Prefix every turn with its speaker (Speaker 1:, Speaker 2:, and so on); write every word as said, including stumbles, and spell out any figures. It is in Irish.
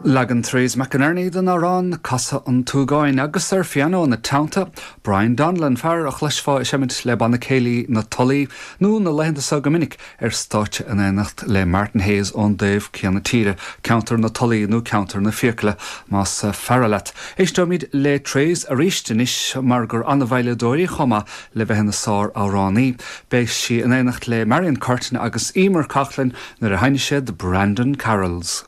Speaker 1: Leagan Therese McInerney den amhrán Casadh an tSúgáin agus ar phianó ina teannta, Brian Donnellan fear a chloisfeá ag seimint le banna céilí na Tulaí nó na laethanta seo go minic ar stáitse in éineacht le Martin Hayes ón dtaobh céanna tíre, ceantar na Tulaí nó ceantar na Fiacaile más fearr leat. Éisteoimid le Therese arís anois mar gur an-veidhleadóir í chomh maith le bheith ina sáramhránaí. Beidh sí in éineacht le Marion Curtin agus Emer Coughlin nuair a sheinnfidh siad Brandon Carols.